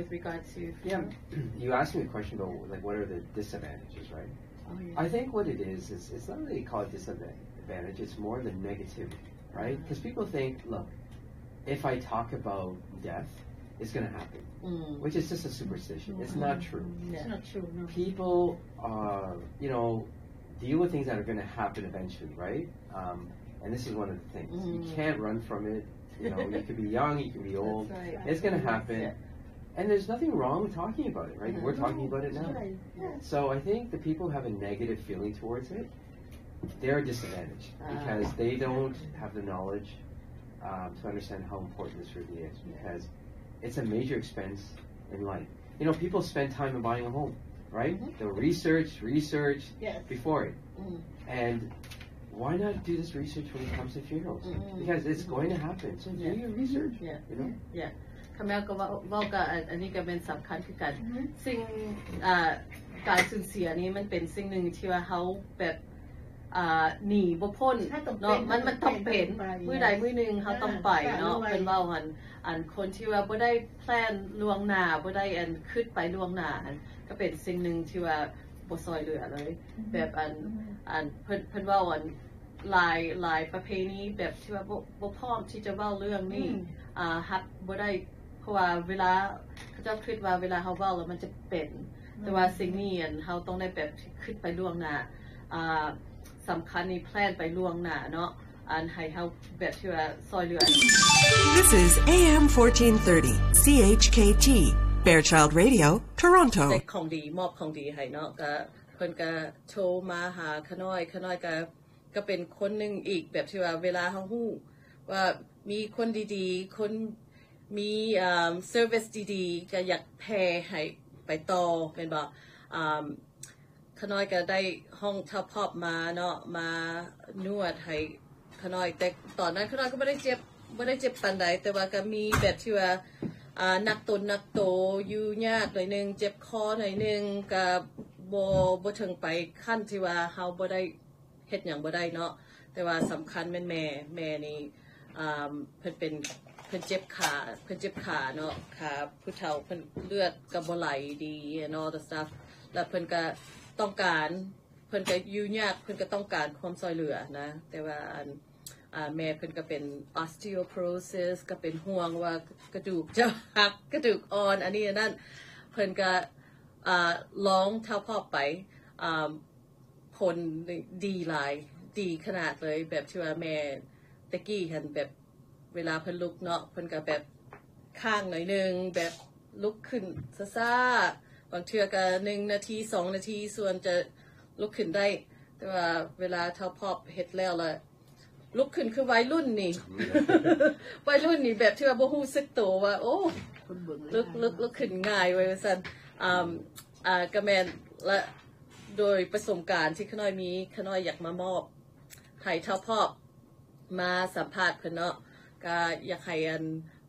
with regard to Yeah, you asked me a question about, like, what are the disadvantages, right? Oh, yeah. I think what it is, is it's not really called disadvantage, it's more the negativity, right? Because people think, look, if I talk about death, it's going to happen, which is just a superstition. It's not true. It's not true, no. People, uh, you know, deal with things that are going to happen eventually, right? Um, and this is one of the things. You can't run from it. You know, you could be young, you can be old. That's right. It's going to happen. Yeah. And there's nothing wrong with talking about it, right? We're talking about it now. Right. Yeah. So I think the people who have a negative feeling towards it, they're disadvantaged because they don't have the knowledge, um, to understand how important this really is, because it's a major expense in life. You know, people spend time in buying a home, right? They'll research, research before it. And why not do this research when it comes to funerals? Because it's going to happen. So do your research, you know? Yeah. ຄະແມວກໍເວົ້າ ເວົ້າກັບອັນ ອັນນີ້ກໍແມ່ນສຳຄັນຄືກັນ. ສິ່ງ ອ່າ ການສູນເສຍນີ້ມັນເປັນສິ່ງໜຶ່ງທີ່ວ່າເຮົາແບບ ອ່າ ໜີບໍ່ພົ້ນເນາະ. ມັນ ມັນຕ້ອງເປັນ ມື້ໃດມື້ໜຶ່ງເຮົາຕ້ອງໄປເນາະ. ເພິ່ນເວົ້າຫັ້ນ ອັນຄົນທີ່ວ່າບໍ່ໄດ້ແພລນລ່ວງໜ້າ ບໍ່ໄດ້ອັນຄິດໄປລ່ວງໜ້າຫັ້ນ ກໍເປັນສິ່ງໜຶ່ງທີ່ວ່າບໍ່ຊ່ອຍເຫຼືອເລີຍ. ແບບອັນ ອັນເພິ່ນ ເພິ່ນເວົ້າອັນ ຫຼາຍ ຫຼາຍປະເພນີແບບທີ່ວ່າບໍ່ ບໍ່ພ້ອມທີ່ຈະເວົ້າເລື່ອງນີ້ ອ່າ ຮັບບໍ່ໄດ້ ເພາະວ່າເວລາເຂົາເຈົ້າຄິດວ່າເວລາເຮົາເວົ້າແລ້ວມັນຈະເປັນ ແຕ່ວ່າສິ່ງນີ້ ອັນ ເຮົາຕ້ອງໄດ້ແບບຄິດໄປລ່ວງໜ້າ ອ່າ ສຳຄັນນີ້ແພລນໄປລ່ວງໜ້າເນາະ ອັນໃຫ້ເຮົາແບບທີ່ວ່າຊ່ອຍເຫຼືອ. This is A M fourteen thirty C H K T, Fairchild Radio, Toronto. ແຈກຂອງດີ ມອບຂອງດີໃຫ້ເນາະ ກະເພິ່ນກະໂທມາຫາຂະນ້ອຍ ຂະນ້ອຍກະ ກໍເປັນຄົນໜຶ່ງອີກ ແບບທີ່ວ່າເວລາເຮົາຮູ້ວ່າມີຄົນດີໆ ຄົນມີ ອ່າ ເຊີວິສດີໆ ກໍຢາກແຜ່ໃຫ້ໄປຕໍ່ ແມ່ນບໍ່? ອ່າ ຂະນ້ອຍກໍໄດ້ຮ້ອງທ້າວພອບມາເນາະ ມານວດໃຫ້ຂະນ້ອຍ ແຕ່ຕອນນັ້ນຂະນ້ອຍກໍບໍ່ໄດ້ເຈັບ ບໍ່ໄດ້ເຈັບປານໃດ ແຕ່ວ່າກໍມີແບບທີ່ວ່າ ອ່າ ໜັກຕົນໜັກໂຕ ຢູ່ຍາກໜ້ອຍໜຶ່ງ ເຈັບຄໍໜ້ອຍໜຶ່ງ ກໍບໍ່ ບໍ່ເຖິງໄປຂັ້ນທີ່ວ່າເຮົາບໍ່ໄດ້ ເຮັດຫຍັງບໍ່ໄດ້ເນາະ ແຕ່ວ່າສຳຄັນແມ່ນແມ່ ແມ່ນີ້ ອ່າ ເພິ່ນເປັນ ເພິ່ນເຈັບຂາ ເພິ່ນເຈັບຂາເນາະ ຂາຜູ້ເຖົ້າ ເພິ່ນເລືອດກໍບໍ່ໄຫຼດີ and all the stuff ແລ້ວເພິ່ນກໍຕ້ອງການ ເພິ່ນກໍຢູ່ຍາກ ເພິ່ນກໍຕ້ອງການຄວາມຊ່ອຍເຫຼືອນະ ແຕ່ວ່າອັນ ອ່າ ແມ່ເພິ່ນກໍເປັນ osteoporosis ກໍເປັນຫ່ວງວ່າກະດູກຈະຫັກ ກະດູກອ່ອນ ອັນນີ້ອັນນັ້ນ ເພິ່ນກໍ ອ່າ ລອງທ້າວພອບໄປ ອ່າ ຜົນນີ້ດີຫຼາຍ ດີຂະໜາດເລີຍ ແບບທີ່ວ່າແມ່ແຕ່ກີ້ຫັ້ນ ແບບເວລາເພິ່ນລຸກເນາະ ເພິ່ນກໍແບບຄ້າງໜ້ອຍໜຶ່ງ ແບບລຸກຂຶ້ນຊ້າໆ ບາງເທື່ອກໍໜຶ່ງນາທີ ສອງນາທີ ສ່ວນຈະລຸກຂຶ້ນໄດ້ ແຕ່ວ່າເວລາທ້າວພອບເຮັດແລ້ວລະ ລຸກຂຶ້ນຄືໄວລຸ້ນນີ້ ໄວລຸ້ນນີ້ແບບທີ່ວ່າບໍ່ຮູ້ສຶກໂຕວ່າ ໂອ້ ລຸກ ລຸກ ລຸກຂຶ້ນງ່າຍໄວວ່າຊັ້ນ ອ່າ ອ່າ ກະແມ່ນ ລະໂດຍປະສົບການທີ່ຂະນ້ອຍມີ ຂະນ້ອຍຢາກມາມອບໃຫ້ທ້າວພອບ ມາສຳພາດເພິ່ນເນາະ ກະຢາກໃຫ້ອັນ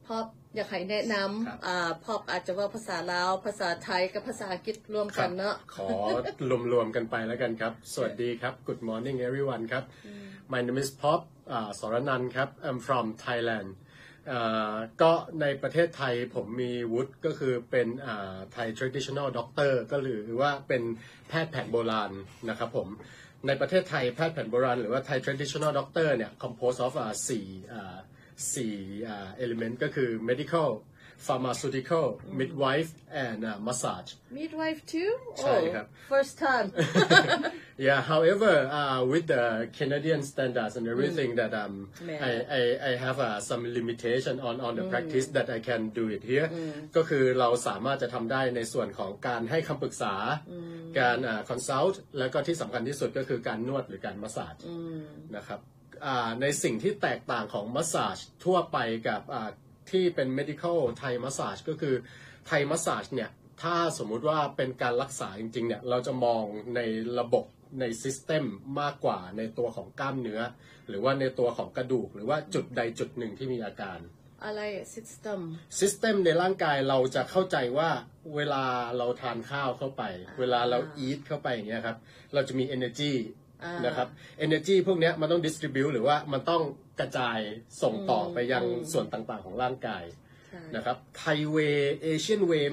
ພອບ ຢາກໃຫ້ແນະນຳ ອ່າ ພອບອາດຈະເວົ້າພາສາລາວ ພາສາໄທ ກັບພາສາອັງກິດລວມກັນເນາະ ຂໍລວມໆກັນໄປແລ້ວກັນຄັບ. ສະຫວັດດີຄັບ Good morning everyone ຄັບ My name is Pop ສອລະນັນຄັບ I'm from Thailand. ເອີ ກໍໃນປະເທດໄທ ຜົມມີວຸດກໍຄືເປັນ ເອີ Thai Traditional Doctor ກໍຫຼືວ່າເປັນແພດແຜນໂບລານນະຄັບຜົມ. ໃນປະເທດໄທ ແພດແຜນໂບລານ ຫຼືວ່າ Thai Traditional Doctor ເນ່ຍ compose of ສີ່ ສີ່ element ກໍຄື Medical, Pharmaceutical, Midwife and Massage. Midwife too? ໃຊ່ຄັບ First time. Yeah, however, uh, with the Canadian standards and everything that um, I, I, I have uh, some limitation on, on the practice that I can do it here. ກໍຄືເຮົາສາມາດຈະທຳໄດ້ໃນສ່ວນຂອງການໃຫ້ຄຳປຶກສາ ການ uh, consult ແລ້ວກໍທີ່ສຳຄັນທີ່ສຸດກໍຄືການນວດ ຫຼື ການ massage ນະຄັບ. ອ່າ ໃນສິ່ງທີ່ແຕກຕ່າງຂອງ massage ທົ່ວໄປກັບ ອ່າ ທີ່ເປັນ medical Thai massage ກໍຄື Thai massage ເນ່ຍ ຖ້າສົມມຸດວ່າເປັນການລັກສາຈິງໆ ເນ່ຍ ເຮົາຈະມອງໃນລະບົບ ໃນ system ມາກກວ່າໃນຕົວຂອງກ້າມເນື້ອ ຫຼືວ່າໃນຕົວຂອງກະດູກ ຫຼືວ່າຈຸດໃດຈຸດໜຶ່ງທີ່ມີອາການ. ອາໄລ system system ໃນຮ່າງກາຍ ເຮົາຈະເຂົ້າໃຈວ່າເວລາເຮົາທານຂ້າວເຂົ້າໄປ ເວລາເຮົາ eat ເຂົ້າໄປຢ່າງເງຍຄັບ ເຮົາຈະມີ energy ອ່າ ນະຄັບ energy ພວກເນີ້ຍມັນຕ້ອງ distribute ຫຼືວ່າມັນຕ້ອງກະຈາຍສົ່ງຕໍ່ໄປຍັງ ອືມ ສ່ວນຕ່າງໆຂອງຮ່າງກາຍ ໃຊ່ ນະຄັບ Thai way Asian way